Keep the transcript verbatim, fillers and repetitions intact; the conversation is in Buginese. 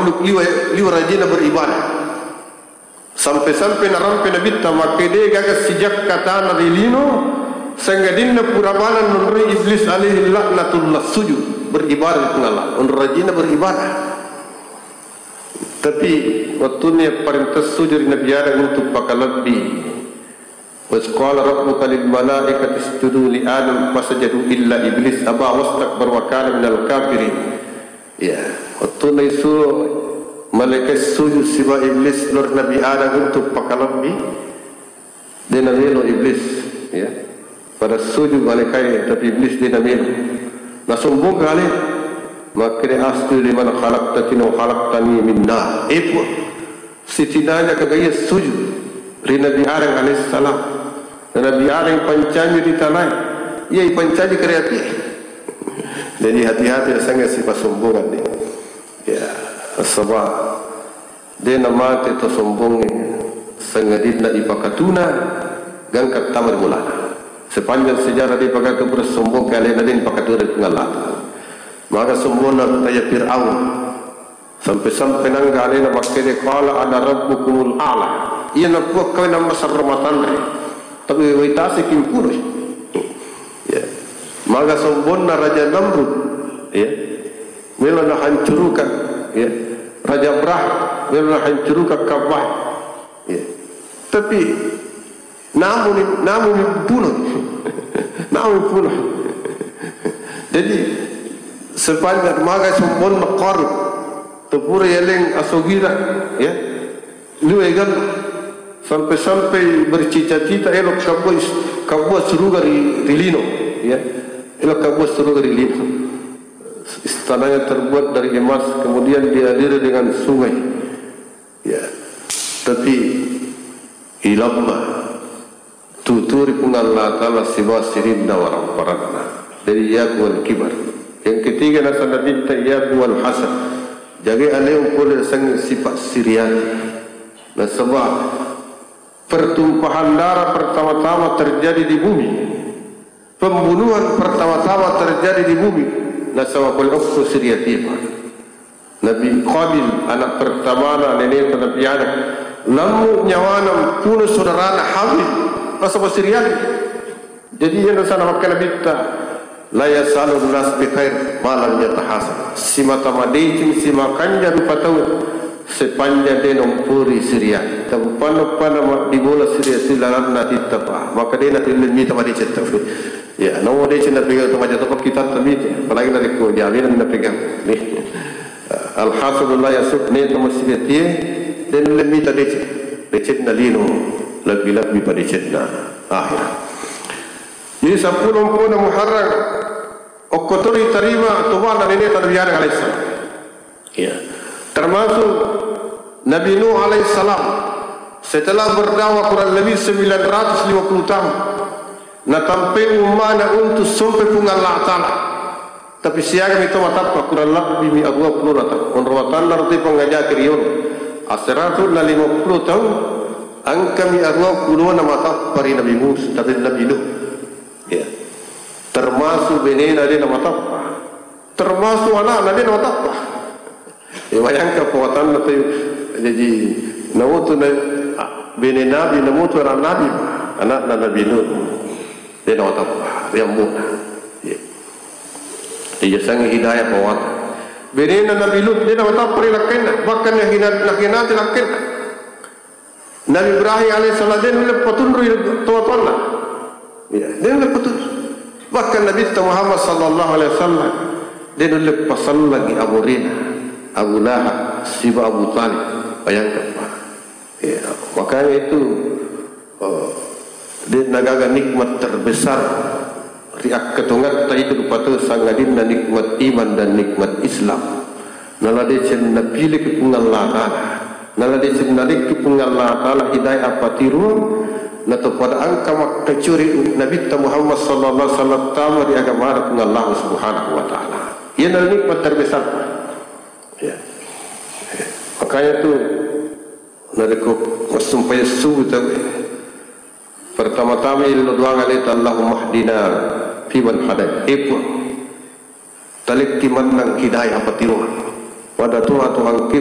liwa, liwa rajina beribadah. Sampai-sampai narampe Nabitta makkeda, de gaga sijakka tana ri lino, sangadinna pura bana nonroi Iblis alaihi laknatullah sujud beribadah ri Puang Allah. Onro rajina beribadah. Tapi wettunna parenta sujud ri Nabi Adam untuk pakalebbi. Wa iz qala rabbuka lil malaikati isjudu li Adam fasajadu illa Iblis aba wastakbara wa kana minal kafirin. Ya, wettunna isuro malaikat sujud siba Iblis lao ri Nabi Adam untuk pakalebbi, de namelo Iblis, ya. Pada sujud malaikat, tapi Iblis de namelo. Nasombong kale, makkeda asjudu liman khalaqta tinan wa khalaqtani min nar. Eh, Puang, sitinanya kagaya sujud ri Nabi Adam alaihissalam. Nabi Adam ipancaji ri tanae, iya ipancaji ka ri api. Jadi hati-hati, sange sipasombongan ni. Ya, sebab de namate to sombongnge, sangadinna ipakatuna gangka tama ri bolana. Sepanjang sejarah de pakatu pura sombong kalena de pakatuna ri Puang Allah Ta'ala. Maka sombonna kaya Fir'aun. Sampai-sampai nangga alena makkeda, qala ana rabbukumul a'la. Iya napuakkawe nammasarro matanre. Tapi wai tasi kimpunoi. Ya. Maga sombonna Raja Namrud. Ya. Melo nahancurukan. Ya. Raja Brah. Melo nahancurukan Ka'bah. Ya. Tapi Namuni, namuni punoi. Namuni punoi. Jadi, sepanjang maga sombonna Qarun, tepura yaleng asogira, ya, liwegan, sampai-sampai bercita-cita elok kabua is-, kabua suruga ri, ri lino, ya, elok kabua suruga ri lino. Istananya terbuat dari emas, kemudian dialiri dengan sungai. Ya, tapi ilamma tuturi Puang Allah Ta'ala sibawa sininna waramparanna. Jadi, iyyakum wal kibar. Yang ketiga, nasaba Nabitta, iyyakum wal hasad. Jagai alemu pole sanging sifat siriati. Nasaba pertumpahan darah pertama-tama terjadi di bumi. Pembunuhan pertama-tama terjadi di bumi, nasaba pole okko siriatie, Pak. Nabi Qabil, anak pertamana neneta Nabi Adam, lammu nyawana mpuno saudarana Habil, nasaba siriati. Jadi, iya nasaba makkeda Nabitta, la yazalu nas bi khair ma lam yatahasad. Simata madeceng, simakanja rupa tau, sepanjang de nampuri siriati. Tapi panna-panna ma-, di bola siriati lalanna titta, Pak. Maka de natulle mita madeceng tau. Ya, namo deceng napegang tu maja toppa kita tu mita. Apalagi narekko jawena napegang. Nih. Al-hasadu la yasud, ne tama siriatie, de nulle mita deceng. Decenna lino, lebbi-lebbi pa decenna akhirat. Jadi, seppulo mpona Muharram, okko to ritarima tobana neneta Nabi Adam alaihissalam. Ya. Termasuk Nabi Nuh alaihissalam, setelah berdakwah kurang lebih sembilan ratus lima puluh tahun, natampai ummana untuk sompe Puang Allah Ta'ala. Tapi siagami to matappa, kurang lebbi mi aruwa pulona taung. Onro watanna roti pangajaki riolo. Aseratus na lima puluh taung, engkami aruwa pulona matappa ri Nabi Musa, tapi Nabi Nuh. Ya. Termasuk benena de namatappa. Termasuk anakna de namatappa. Ya, bayangkan pawatanna tu. Jadi, namutu na, bene Nabi, namutu anak Nabi, anakna Nabi Nuh. De namatappa, ri ammuna. Ya. Iya sangi hidayah pawat. Benena Nabi Lut, de namatappa ri lakkainna. Bahkan nahina-, nahinati lakkainna. Nabi Ibrahim alaihissalam de nulle patunrui tau-tauanna. Ya, de nulle patunrui. Bahkan Nabitta Muhammad sallallahu alaihi wasallam de nulle pasallangi amurena Abu Lahab siba Abu Talib. Bayangkan, Pak. Ya, makanya itu, eh, de nagaga nikmat terbesar ri akkatongatta itu rupa tau sangadinna nikmat iman dan nikmat Islam. Nala deceng napileki Puang Allah Ta'ala. Nala deceng nalekki Puang Allah Ta'ala hidayah appatiruang, natopada engka makkacuri Nabitta Muhammad sallallahu alaihi wasallam tama ri agamana Puang Allah Subhanahu wa Ta'ala. Iyana nikmat terbesar. Ya. Makanya tu, narekko massumpajang subuh tau, pertama-tama illo doang aleta, Allahumma hdina fiman hadait. Eh, Puang, talekki mennang hidayah appatiroang. Pada toha-tohangki